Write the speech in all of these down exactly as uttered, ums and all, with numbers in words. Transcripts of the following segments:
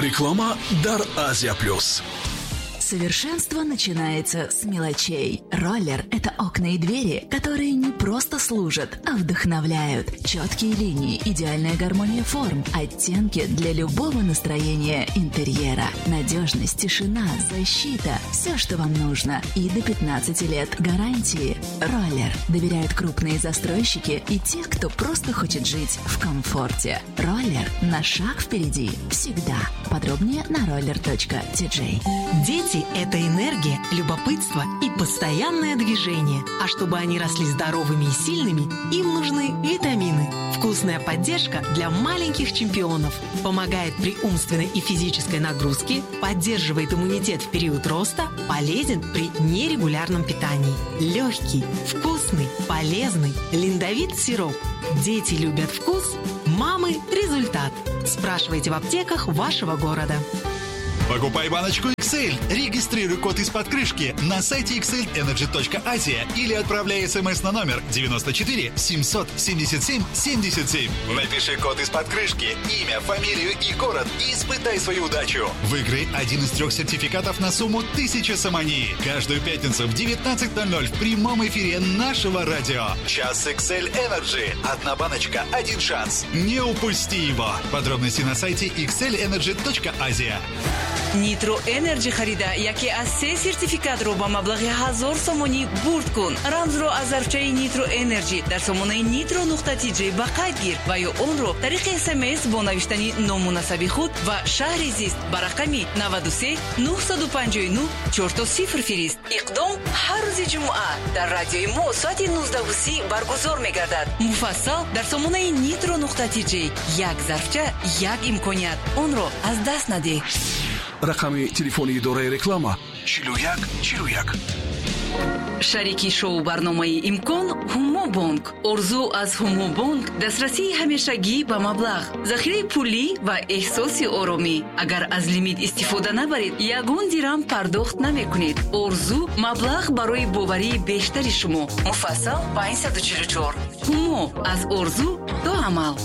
Реклама дар Азия Плюс. Совершенство начинается с мелочей. Роллер – это окна и двери, которые не просто служат, а вдохновляют. Четкие линии, идеальная гармония форм, оттенки для любого настроения интерьера. Надежность, тишина, защита – все, что вам нужно. И до пятнадцати лет гарантии. Роллер доверяют крупные застройщики и те, кто просто хочет жить в комфорте. Роллер на шаг впереди всегда. Подробнее на roller точка ти джей. Дети – это энергия, любопытство и постоянное движение. А чтобы они росли здоровыми и сильными, им нужны витамины. Вкусная поддержка для маленьких чемпионов. Помогает при умственной и физической нагрузке, поддерживает иммунитет в период роста, полезен при нерегулярном питании. Легкий, вкусный, полезный Линдовит сироп. Дети любят вкус, мамы – результат. Спрашивайте в аптеках вашего города. Покупай баночку икс эль, регистрируй код из-под крышки на сайте икс эль энерджи точка азия или отправляй смс на номер девяносто четыре семьсот семьдесят семь семьдесят семь. Напиши код из-под крышки, имя, фамилию и город и испытай свою удачу. Выиграй один из трех сертификатов на сумму тысяча сомони. Каждую пятницу в девятнадцать ноль ноль в прямом эфире нашего радио. Час икс эль Energy. Одна баночка, один шанс. Не упусти его. Подробности на сайте икс эль энерджи точка азия. Nitro Energy харида яке аз се сертификатро ба маблағи ҳазор сомонӣ бурд кун. Рамзро аз зарфчаи Nitro Energy дар сомонаи nitro нуқта ти джей ба қайд гир ва ё онро тариқи эс эм эс бо навиштани ному насаби худ ва шаҳри зист ба рақами наваду се нуҳсаду панҷоҳу нӯҳ чорто сифр фирист. Иқдом ҳар рӯзи ҷумъа дар радиои мо соати нуздаҳу си баргузор мегардад. Муфассал дар сомонаи nitro нуқта ти джей. Як зарфча, як имконият. Онро аз даст надеҳ. Рақами телефони идораи реклама чилу як чилу як. Шарики шоу барномаи «Имкон» Ҳумобонк. Орзу аз Ҳумобонк дастрасии ҳамешагӣ ба маблағ, захираи пулӣ ва эҳсоси оромӣ. Агар аз лимит истифода набаред, ягон дирам пардохт намекунед. Орзу маблағ барои боварии бештари шумо. Муфассал панҷсаду чилу чор. Ҳумо аз орзу до амал.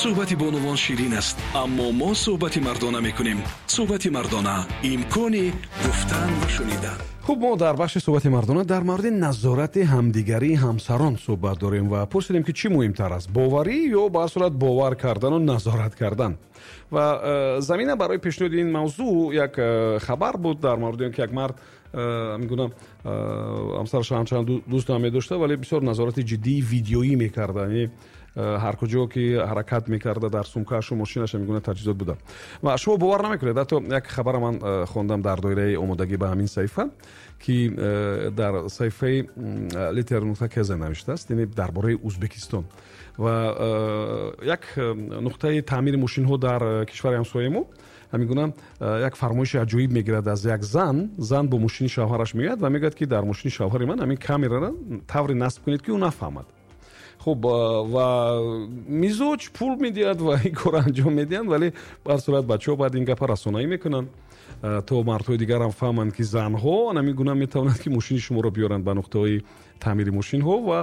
Суҳбати бонувон ширин аст, аммо мо суҳбати мардона мекунем. Суҳбати мардона, имкони гуфтан ва шунидан. Хуб, мо дар бахши суҳбати мардона дар мавриди назорати ҳамдигарии ҳамсарон суҳбат дорем ва пурсидем, ки чӣ муҳимтар аст, боварӣ ё ба ҳар сурат бовар кардану назорат кардан. Ва э, замина барои пешниҳоди ин мавзӯъ як э, хабар буд дар мавриди он ки як мард э, мегӯям, ҳамсараш ҳамчанд дӯст намедошта, вале бисёр назорати ҷиддии видеоӣ мекарда, яъне ҳар куҷо ки ҳаракат мекарда, дар сумкашу мошинаша мегӯна таҷҳизот буда. Ва шумо бовар намекунед, ҳатто як хабара ман хондам дар доираи омодагӣ ба ҳамин саҳифа, ки дар саҳифаи литер нуқта кз навиштааст, яъне дар бораи Узбекистон. Ва як нуқтаи таъмири мошинҳо дар кишвари ҳамсояи мо ҳамин гуна як фармоиши аҷоиб мегирад аз як зан. Зан бо мошини шавҳараш меояд ва мегӯяд, ки дар мошини шавҳари ман ҳамин камераро тавре насб кунед, ки ӯ нафаҳмад. Хуб, ва мизоҷ пул медиҳад ва ин корро анҷом медиҳанд, вале ба ҳар сурат бачаҳо баъд ин гапа расонаӣ мекунанд, то мардҳои дигарам фаҳманд, ки занҳо ҳамин гуна метавонанд, ки мошини шуморо биёранд ба нуқтаҳои таъмири мошинҳо ва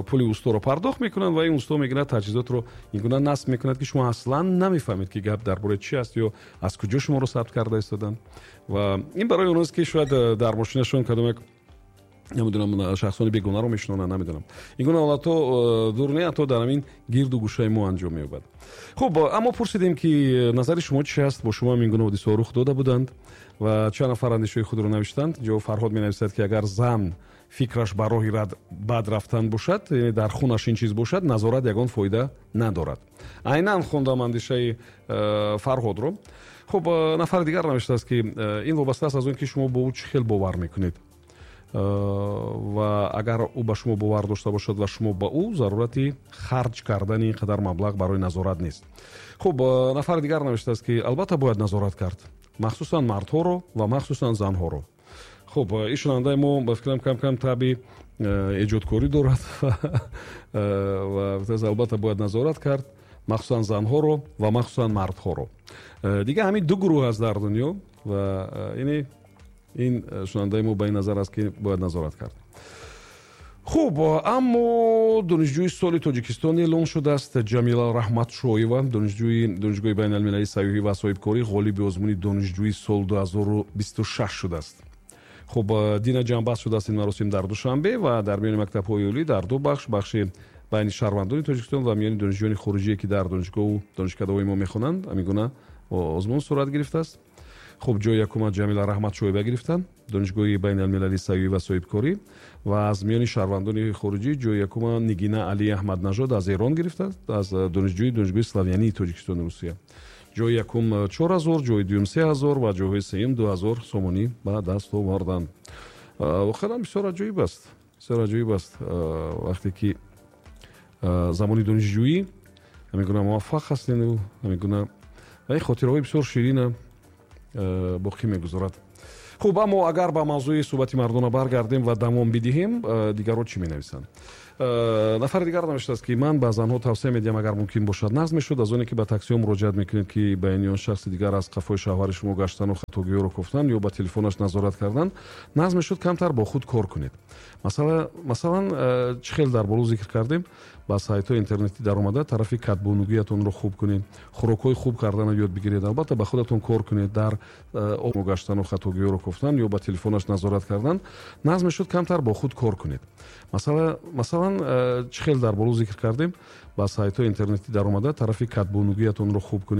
пули усторо пардохт мекунанд ва ин усто мегирад, таҷҳизотро ин гуна насб мекунад, ки шумо аслан намефаҳмед, ки гап дар бораи чи аст ё аз куҷо шуморо сабт карда истоданд. Ва ин барои оност, ки шояд дар мошинашон кадом як, намедонам, шахсони бегонаро мешинонанд, намедонам. Ин гуна ҳолатҳо э, дур не, ҳатто дар ҳамин гирду гӯшаи мо анҷом меёбад. Хуб, аммо пурсидем, ки назари шумо чи аст, бо шумо ҳам ин гуна ҳодисаҳо рух дода буданд ва чанд нафар андешаҳои худро навиштанд. Ҷо Фарҳод менависад, ки агар зан фикраш ба роҳи бад рафтан бошад, яъне дар хунаш ин чиз бошад, назорат ягон фоида надорад. Айнан хондам андешаи э, Фарҳодро. Хуб, э, нафари дигар навиштааст, ки ин вобаста аст аз он ки шумо бо ӯ чӣ хел бовар мекунед, ва агар ӯ ба шумо бовар дошта бошад ва шумо ба ӯ, зарурати харҷ кардани ин қадар маблағ барои назорат нест. Хуб, нафари дигар навиштааст, ки албатта бояд назорат кард, махсусан мардҳоро ва махсусан занҳоро. Хуб, ин шунавандаи мо, ба фикрам, кам кам таби эҷодкорӣ дорад ва албатта бояд назорат кард, махсусан занҳоро ва махсусан мардҳоро. Дига ҳамин ду гурӯҳ аст дар дунё ва ини ин шунавандаи мо ба ин назар аст, ки бояд назорат кард. Хуб, аммо донишҷӯи соли Тоҷикистон эълон шудааст. Ҷамила Раҳматшоева, донишҷӯи Донишгоҳи байналмилалии сайёҳӣ ва соҳибкорӣ, ғолиби озмуни донишҷӯи сол ду ҳазору бисту шаш шудааст. Хуб, дина ҷамъбаст шудааст ин маросим дар Душанбе ва дар миёни мактабҳои олӣ дар ду бахш, бахши байни шаҳрвандони Тоҷикистон ва миёни донишҷӯёни хориҷие, ки дар донишгоҳу донишкадаҳои мо мехонанд, ҳамин гуна озмун сурат гирифтааст. Хуб, ҷои якума Ҷамила Раҳматшоева гирифтанд, Донишгоҳи байналмилалии сайёҳӣ ва соҳибкорӣ, ва аз миёни шаҳрвандони хориҷӣ ҷои якума Нигина Али Аҳмаднажод аз Эрон гирифтааст, аз донишҷӯи Донишгоҳи славянии Тоҷикистону Русия. Ҷои якум чор ҳазор, ҷои дуюм се ҳазор ва ҷойҳои сеюм ду ҳазор сомонӣ ба даст оварданд. Воқеан бисёр аҷоиб аст, бисёр аҷоиб аст, вақте ки замони донишҷӯӣ ҳамин гуна муваффақ ҳастену ҳамин гуна ва ин хотираҳои бисёр ширина боқӣ мегузорад. Хуб, аммо агар ба мавзӯи суҳбати мардона баргардем ва давом бидиҳем, дигарро чӣ менависанд? Нафари дигар навиштааст, ки ман ба занҳо тавсия медиҳам, агар мумкин бошад, нағз мешуд, аз оне ки ба таксиҳо муроҷиат мекунед, ки ба ин он шахси дигар аз қафои шавҳари шумо гаштану хатогиҳоро кофтан ё ба телефонаш назорат кардан, нағз мешуд камтар бо худ кор кунед. Масалан, чӣ хел дар боло зикр кардем, ба сайтҳои интернетӣ даромада, тарафи кадбонугиятонро хуб кунед, хӯрокҳои хуб карданро ёд бигиред, албатта, ба худатон кор кунед. Дар гаштану хатогиҳоро кофтан ё ба телефонаш назорат кардан, нағз мешуд камтар бо худ кор кунед. Масалан, чӣ хел дар боло зикр кардем, ба сайтҳои интернетӣ даромада, тарафи кадбонугиятонро хуб кунед.